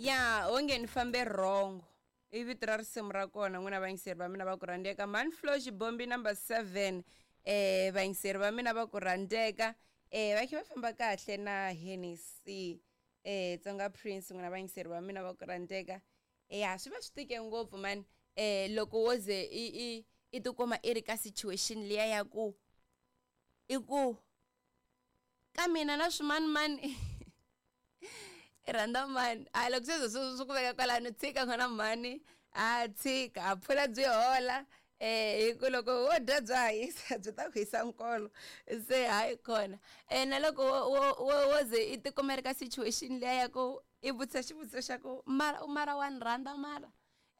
Ya onge ni fambe wrong i vito ra risimu ra kona n'wina vayingiseri va mina va ku rhandzeka Manflo Xibombi number 7 vayingiseri va mina va ku rhandzeka va khe va famba kahle na Hennessy Tsonga Prince n'wina vayingiseri va mina va ku rhandzeka ya swi va swi tike ngopfu man loko wo ze i i i tikuma i ri ka situation liya ya ku i ku ka mina na swimanimani i rhandza mani a loko se swi swi ku veka kwalano tshika n'wana mhani a tshika a phula byi hola hi ku loko wo dya bya hisa byi ta ku hisa nkolo se hayi kona na loko wo wo wo ze i tikuma ri ka situation liya ya ku i vutisa xivutiso xa ku mara mara wa ni rhandza mara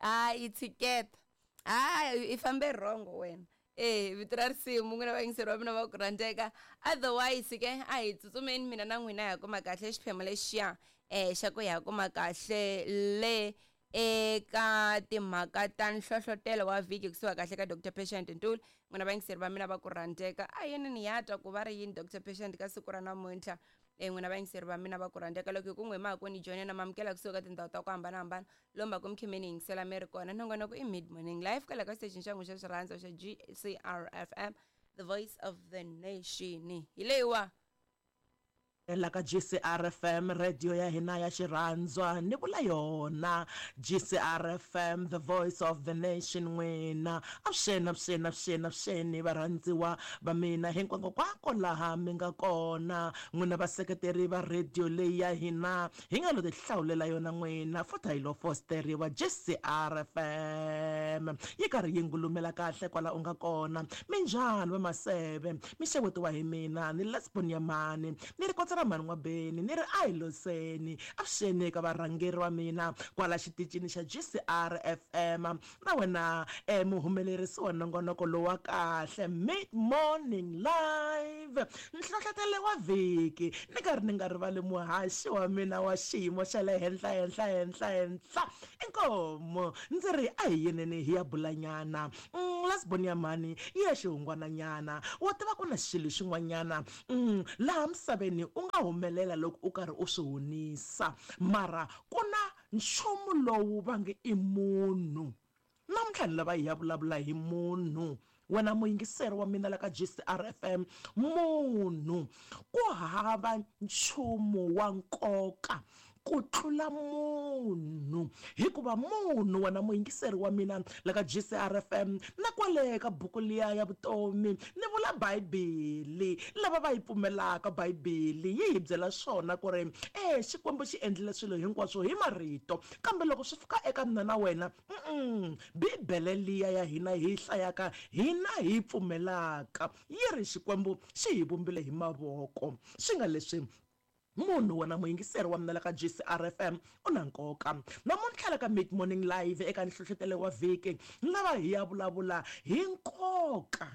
hayi tshiketa hayi i fambe wrong wena e vito ra risimu n'wina vayingiseri va mina va ku rhandzeka otherwise ke a hi tsutsumeni mina na n'wina hi kuma kahle xiphemu lexiya xa ku hi ya kuma kahle le eka timhaka ta nhlohlotelo wa vhiki kusuka kahle ka Dr Patient Ntuli n'wina vayingiseri va mina va ku rhandzeka a yini ni ya twa ku va ri yini Dr Patient ka siku ra namuntlha n'wina vayingiseri va mina va ku rhandzeka loko hi ku n'we mhaka ni joyina na mamukela kusuka ka tindhawu ta ku hambanahambana lomu va ku mi khe mi ni yingisela mi ri kona nongonoko i mid morning live kwala ka xitexini xa n'wi xa xirhandzo xa GCR FM the voice of the nation hi leyiwa. La ka GCR FM radio ya hina ya xirhandzwa ni vula yona GCR FM the voice of the nation n'wina avuxeni avuxeni avuxeni avuxeni varhandziwa va mina hinkwankokwako laha mi nga kona n'wina vaseketeri va radio leyi ya hina Hi nga lo tihlawulela yona n'wina, futhi a yi lo fosteriwa. GCRFM yi karhi yi ngulumela kahle kwala u nga kona. Minjhani va Maseve? Mi xewetiwa hi mina, ni Lesbon ya mhani, ni ri kotsa ra mhani N'wabeni, ni ri a hi loseni. Avuxeni eka varhangeri va mina kwala xitichini xa GCRFM. Na wena e muhumelerisi wa nongonoko lowu wa kahle, Mid Morning Live, nhlohlotelo wa vhiki, ni karhi ni nga rivali muhaxi wa mina wa xiyimo xa le henhla henhla henhla henhla, inkomu ndzi ri a hi yeneni hi ya bulanyana. Umm, Lasbon ya mhani yi ya xihungwananyana. Wa tiva ku na xilo xin'wanyana, umm, laha misaveni u nga humelela loko u karhi u swi hunisa, mara ku na Nchumu lowu va nge i munhu. Namuntlha ni lava hi ya vulavula hi munhu. Wena muyingiseri wa mina la ka GCR FM, munhu. Ku hava nchumu wa nkoka ku tlula munhu. Hikuva munhu, wena muyingiseri wa mina la ka GCR FM, na kwale ka buku liya ya vutomi, ni vula Bibele, lava va yi pfumelaka Bibele yi hi byela swona ku ri, E, Xikwembu xi endlile swilo hinkwaswo hi marito. Kambe loko swi fika eka mina na wena, uh-uh, Bibele liya ya hina hi yi hlayaka, hina hi yi pfumelaka, yi ri Xikwembu xi hi vumbile hi mavoko. Swi nga leswi, munhu, wena muyingiseri wa mina la ka GCRFM, u na nkoka. Namuntlha la ka Mid Morning Live eka Nhlohlotelo wa Vhiki, ni lava hi ya vulavula hi nkoka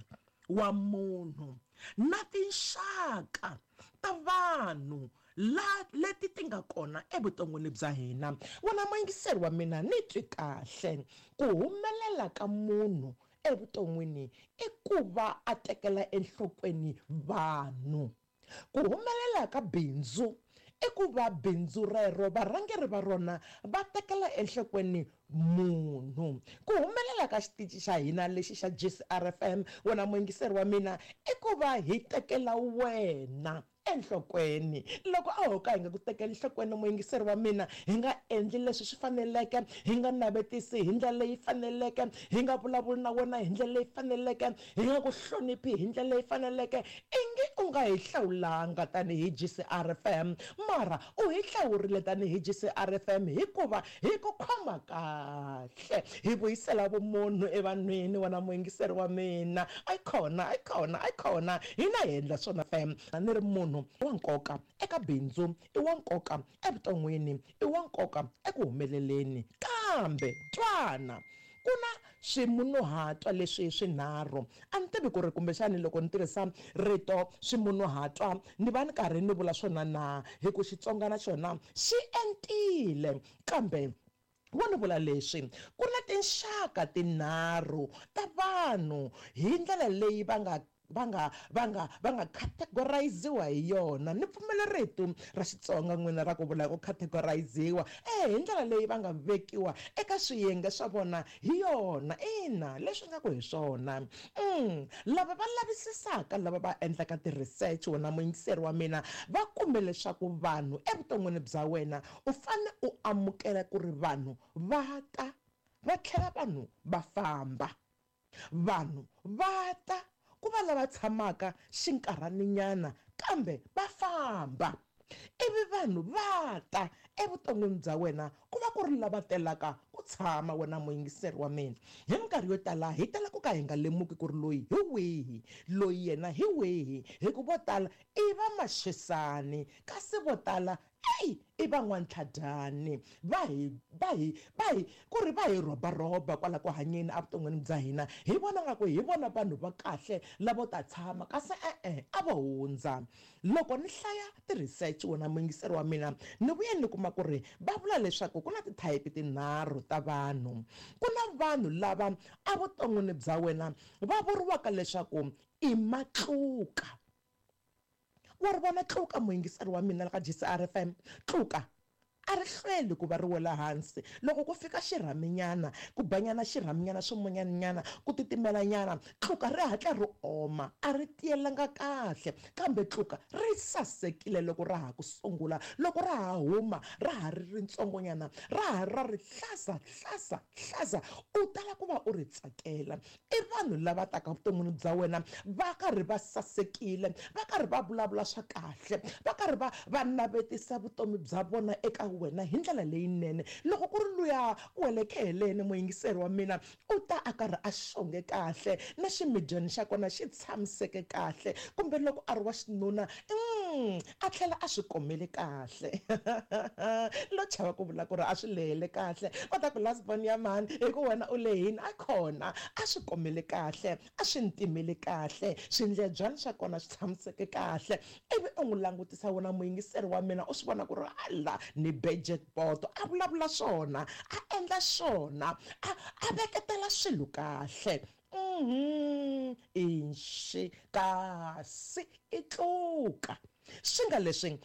wa munhu na tinxaka ta vanhu la leti ti nga kona evuton'wini bya hina. Wena muyingiseri wa mina, ni twi kahle, ku humelela ka munhu evuton'wini i ku va a tekela enhlokweni vanhu. Ku humelela ka bindzu i ku va bindzu rero varhangeri va rona va tekela enhlokweni munhu. Ku humelela ka xitici xa hina lexi xa GCRFM, wena muyingiseri wa mina, i ku va hi tekela wena enhlokweni. Loko a ho ka hi nga ku tekeli enhlokweni muyingiseri wa mina, hi nga endli leswi swi faneleke, hi nga navetisi hi ndlela leyi faneleke, hi nga vulavuli na wena hi ndlela leyi faneleke, Hi nga ku hloniphi hi ndlela leyi faneleke, ingi u nga hi hlawulanga tanihi GCRFM, mara u hi hlawurile tanihi GCRFM hikuva hi ku khoma kahle. Hi vuyisela vumunhu evanhwini, wena muyingiseri wa mina. Ayikhona, ayikhona, ayikhona, hina hi endla swona FM. Ni ri munhu wa nkoka eka bindzu, i wa nkoka evuton'wini, i wa nkoka eku humeleleni. Kambe twana! Ku na swimunhuhatwa leswi swinharhu. A ni tivi ku ri kumbexani loko ni tirhisa rito swimunhuhatwa ni va ni karhi ni vula swona na, hi ku Xitsonga na xona xi entile. Kambe wo ni vula leswi, ku na tinxaka tinharhu ta vanhu hi ndlela leyi va nga. va nga va nga va nga categoriziwa hi yona. Ni pfumela rito ra Xitsonga n'wina ra ku vula ku categoriziwa hi ndlela leyi va nga vekiwa eka swiyenge swa vona hi yona. Ina, leswi nga ku hi swona. Lava va lavisisaka, lava va endlaka ti-research, wena muyingiseri wa mina, va kume leswaku vanhu evuton'wini bya wena u fane u amukela ku ri vanhu va ta va tlhela vanhu va famba. Vanhu va ta ku va lava tshamaka xinkarhaninyana kambe va famba. Ivi vanhu va ta evuton'wini bya wena ku va ku ri lava telaka ku tshama, wena muyingiseri wa mina. Hi minkarhi yo tala hi tala ku ka hi nga lemuki ku ri loyi hi wihi, loyi yena hi wihi, hi ku vo tala i va maxisani, kasi vo tala eyi i va n'wantlhadyani. Va hi va hi va hi ku ri va hi rhobarhoba kwala ku hanyeni evuton'wini bya hina, hi vona nga ku hi vona vanhu va kahle lavo ta tshama, kasi e-e a vo hundza. Loko ni hlaya ti-research, wena muyingiseri wa mina, ni vuye ni kuma ku ri va vula leswaku ku na ti-type tinharhu ta vanhu. Ku na vanhu lava evuton'wini bya wena va vuriwaka leswaku i matluka. Wa ri vona tluka, muyingiseri wa mina la ka GCR FM? Tluka a ri hlweli ku va ri wela hansi. Loko ku fika xirhaminyana, ku banyana xirhaminyana, swimunyaninyana, ku titimelanyana, tluka ri hatla ri oma, a ri tiyelanga kahle. Kambe tluka ri sasekile loko ra ha ku sungula, loko ra ha huma, ra ha ri ritsongonyana, ra ha ra ri hlaza hlaza hlaza, u tala ku va u ri tsakela. I vanhu lava taka vuton'wini bya wena va karhi va sasekile, va karhi va vulavula swa kahle, va karhi va va navetisa vutomi bya vona eka wena hi ndlela leyinene. Loko ku ri luya ku wele kheheleni, muyingiseri wa mina, u ta a karhi a xonge kahle na ximidyani xa kona xi tshamiseke kahle, kumbe loko a ri wa xinuna a tlhela a swi komele kahle. Lo chava ku vula ku ri a swi lehele kahle, va ta ku last born ya mhani, hi ku wena u lehini. A khona a swi komele kahle, a swi ntimele kahle, swindlebyani swa kona swi tshamiseke kahle. Ivi u n'wi langutisa, wena muyingiseri wa mina, u swi vona ku ri ala ni be jackpot, a vulavula swona, a endla swona, a veketela swilo kahle. Inxi kasi i tluka swi nga leswi.